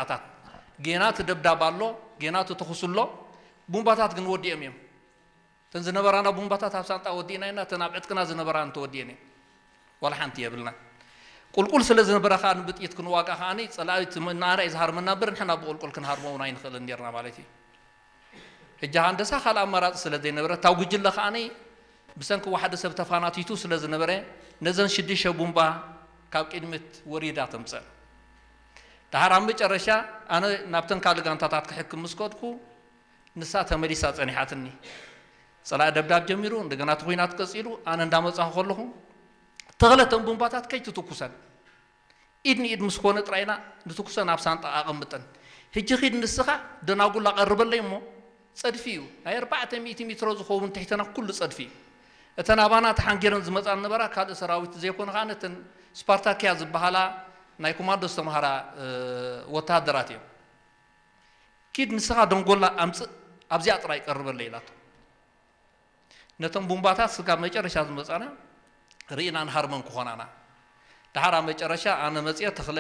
ኣታት ጌና እቲ ደብዳብ ኣሎ፣ ጌና እቲ ተኹስ ኣሎ። ቡምባታት ግን ወዲኦም እዮም። እተን ዝነበራና ቡምባታት ኣብ ሳንጣ ወዲእና ኢና፣ እተን ኣብ ዕጥቅና ዝነበራን ተወዲአን እየን። ዋላ ሓንቲ የብልና። ቁልቁል ስለ ዝነበረ ከኣ ንብጥይት ክንዋጋ ከኣ ጸላኢ እቲ ንኣና እዩ ዝሃርመና እምበር ንሕና ብቁልቁል ክንሃርሞ እውን ኣይንኽእልን ነርና ማለት እዩ። ሕጂ ሃንደሳ ካልእ ኣማራጺ ስለ ዘይነበረ እታ ጉጅለ ከኣ ብሰንኪ ዋሕዲ ሰብ ተፋናቲቱ ስለ ዝነበረ ነዘን ሽዱሽተ ቡምባ ካብ ቅድሚት ወሪዳ ተምጸን። ደሓር ኣብ መጨረሻ ኣነ ናብተን ካልእ ጋንታታት ክሕክም ምስ ከድኩ ንሳ ተመሊሳ ጸኒሓትኒ። ጸላኢ ደብዳብ ጀሚሩ፣ እንደገና እቲ ኹናት ቀጺሉ፣ ኣነ እንዳመጻኹ ከለኹ ተኽለተን ቡምባታት ከይትትኩሰን ኢድ ንኢድ ምስ ኮነ ጥራይና ንትኩሰን ኣብ ሳንጣ ኣቐምጠን። ሕጂ ኺድ ንስኻ ደናጉላ ቀርበለይ እሞ ጸድፊ እዩ። ናይ ኣርባዕተ ሚእቲ ሜትሮ ዝኸውን ትሕተና ኩሉ ጸድፊ እዩ። እተን ኣባና ተሓንጊረን ዝመጻ ነበራ ካልእ ሰራዊት ዘይኮነ ከኣ ነተን ስፓርታኪያ ዝበሃላ ናይ ኮማንዶ ዝተምሃራ ወተሃደራት እዮም። ኪድ ንስኻ ደንጎላ ኣምጽእ ኣብዚኣ ጥራይ ቀርበለይ ኢላቶ። ነቶም ቡምባታት ስጋብ መጨረሻ ዝመጻና ርኢና ንሃርመን ክኾናና። ደሓር ኣብ መጨረሻ ኣነ መጽየ ተኽለ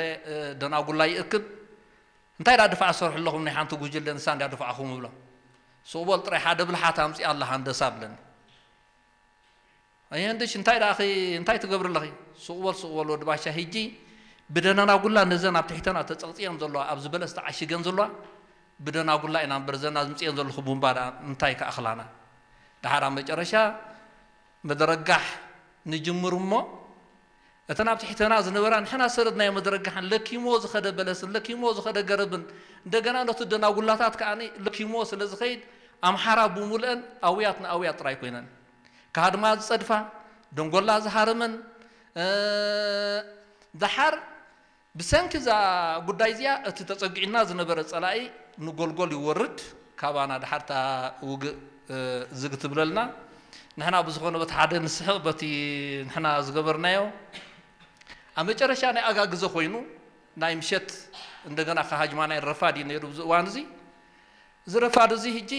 ደናጉላ ይእክብ እንታይ ዳ ድፋዕ ሰርሑ ኣለኹም ናይ ሓንቲ ጉጅለ ንሳ እንዳ ድፋዕኹም እብሎም። ስቕበል ጥራይ ሓደ ብልሓት ኣምጽእ ኣላ ሃንደሳ ብለኒ። ኣየንድሽ እንታይ ደኣ እንታይ ትገብሪ ኣለኺ? ስቕበል ስቕበል ወዲ ባሻ ሂጂ ብደናና ጉላ ነዘን ኣብ ትሕተና ተጸቕጽየን ዘለዋ ኣብ ዝበለስ ተዓሽገን ዘለዋ ብደና ጉላ ኢና እምበር ዘና ዝምጽየን ዘለኹ ቡምባ ደኣ እንታይ ከኣኽላና? ደሓር ኣብ መጨረሻ መደረጋሕ ንጅምር እሞ እተን ኣብ ትሕተና ዝነበራ ንሕና ሰረድናዮ መደረጋሕን ለኪሞ ዝኸደ በለስን ለኪሞ ዝኸደ ገረብን እንደገና ነቱ ደናጉላታት ከኣ ለኪሞ ስለ ዝኸይድ ኣምሓራ ብሙልአን ኣውያት ንኣውያት ጥራይ ኮይነን። ካድማ ዝጸድፋ፣ ደንጎላ ዝሃረመን፣ እ፣ ደሓር ብሰንኪ እዛ ጉዳይ እዚኣ እቲ ተጸጊዕና ዝነበረ ጸላኢ ንጎልጎል ይወርድ፣ ካባና ደሓር እታ ውግእ፣ እ፣ ዝግ ትብለልና። ንሕና ብዝኾነ በቲ ሓደ ንስሕቕ በቲ ንሕና ዝገበርናዮ። ኣብ መጨረሻ ናይ ኣጋ ግዘ ኮይኑ ናይ ምሸት እንደገና ከሃጅማ ናይ ረፋድ እዩ ነይሩ ኣብዚ እዋን እዚ። እዚ ረፋድ እዚ ሕጂ፣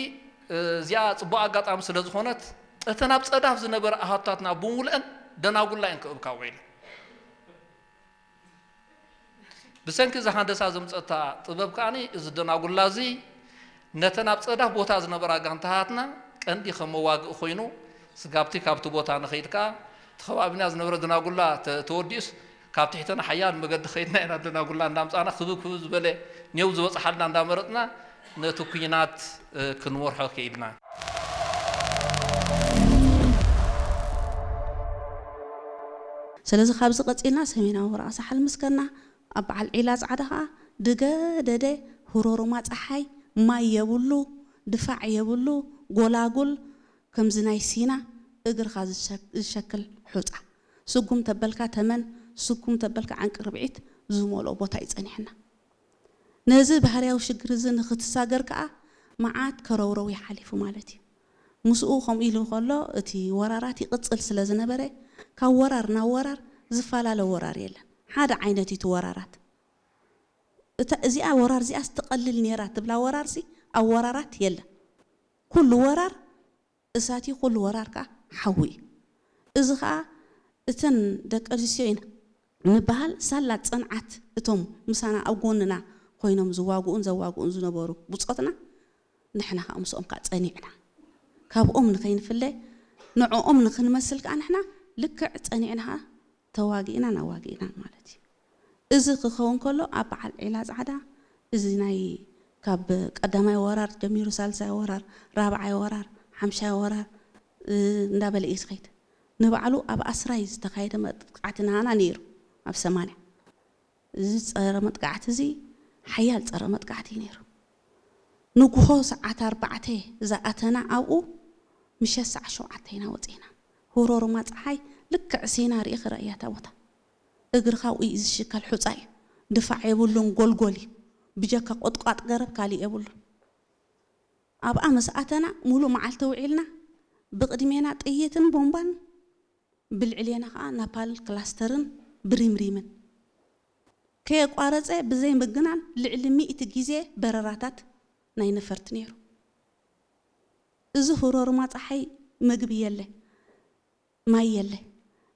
እ፣ እዚኣ ጽቡቕ ኣጋጣሚ ስለ ዝኾነት እተን ኣብ ጸዳፍ ዝነበረ ኣሃቱታትና ብሙሉአን ደናጉላ እየን ክእብካ ውዒለን። ብሰንኪ እዛ ሃንደሳ ዘምጸታ ጥበብ ከኣ እዚ ደናጉላ እዚ ነተን ኣብ ጸዳፍ ቦታ ዝነበራ ጋንታታትና ቀንዲ ከም መዋግኢ ኮይኑ ስጋብቲ ካብቲ ቦታ ንኸይድ ከኣ እቲ ከባቢና ዝነበረ ደናጉላ ተ-፣ ተወዲኡስ ካብ ትሕተና ሓያል መገዲ ከይድና ኢና ደናጉላ እንዳምጻና ክብብ ክብብ ዝበለ ኔው ዝበጽሓልና እንዳመረጽና ነቲ ኩናት፣ እ፣ ክንመርሖ ክኢልና። ስለዚ ካብዚ ቀጺልና ሰሜናዊ ወረቓ ሳሕል ምስ ከድና ኣብ በዓል ዒላ ጻዕዳ ኸኣ ድገ ደደ፣ ሁሮሩማ ጸሓይ፣ ማይ የብሉ፣ ድፋዕ የብሉ፣ ጎላጉል፣ ከምዚ ናይ ሲና እግርኻ ዝሸ-፣ ዝሸክል ሑጻ። ስጉም ተበልካ ተመን፣ ስጉም ተበልካ ዓንቂ ርብዒት ዝመልኦ ቦታ እዩ ጸኒሕና። ነዚ ባህርያዊ ሽግር እዚ ንኽትሳገር ከኣ መዓት ከረውረው ይሓሊፉ ማለት እዩ። ምስኡ ከምኡ ኢሉ ከሎ እቲ ወራራት ይቕጽል ስለ ዝነበረ ካብ ወራር ናብ ወራር ዝፈላለ ወራር የለን። ሓደ ዓይነት እዩ እቲ ወራራት። እታ እዚኣ ወራር እዚኣ ስትቐልል ነይራ ትብላ ወራርሲ ኣብ ወራራት የለን። ኩሉ ወራር እሳት እዩ፣ ኩሉ ወራር ከኣ ሓዊ እዩ። እዚ ኸኣ እተን ደቂ ኣንስትዮ ኢና ንበሃል ሳላ ጽንዓት እቶም ምሳና ኣብ ጎንና ኮይኖም ዝዋግኡን ዘዋግኡን ዝነበሩ ብጾትና ንሕና ከኣ ምስኦም ከኣ ጸኒዕና። ካብኦም ንኸይንፍለ ንዕኦም ንኽንመስል ከኣ ንሕና ልክዕ ጸኒዕና ከኣ ተዋጊእናን ኣዋጊእናን ማለት እዩ። እዚ ክኸውን ከሎ ኣብ በዓል ዒላ ጻዕዳ እዚ ናይ ካብ ቀዳማይ ወራር ጀሚሩ ሳልሳይ ወራር፣ ራብዓይ ወራር፣ ሓምሻይ ወራር፣ እ፣ እንዳበለ እዩ ዝኸይድ። ንባዕሉ ኣብ ኣስራይ ዝተኻየደ መጥቃዕቲ ናሃና ነይሩ ኣብ ሰማንያ። እዚ ጸረ መጥቃዕቲ እዚ ሓያል ጸረ መጥቃዕቲ እዩ ነይሩ። ንግሆ ሰዓት ኣርባዕተ ዝኣተና ኣብኡ ምሸት ሰዓት ሸውዓተ ኢና ወጺእና። ሁሮሩማ ጸሓይ ልክዕ ሲና ርኢኺ ረእያ እታ ቦታ። እግርኻ ኣብኡ እዩ ዝሽከል ሑጻ እዩ። ድፋዕ የብሉን ጎልጎል እዩ። ብጀካ ቁጥቋጥ ገረብ ካሊእ የብሉን። ኣብኣ ምስ ኣተና ሙሉእ መዓልቲ ውዒልና ብቕድሜና ጥይትን ቦምባን ብልዕሌና ኸኣ ናፓል ክላስተርን ብሪምሪምን ከየቋረጸ ብዘይ ምግናን ልዕሊ ሚእቲ ግዜ በረራታት ናይ ነፈርቲ ነይሩ። እዚ ሁሮሩማ ጸሓይ መግቢ የለ፣ ማይ የለ።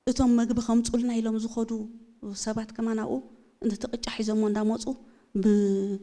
እቶም መግቢ ከምጹልና ኢሎም ዝኸዱ ሰባት ከማን ኣብኡ ነቲ ቅጫ ሒዞሞ እንዳመጹ ብ-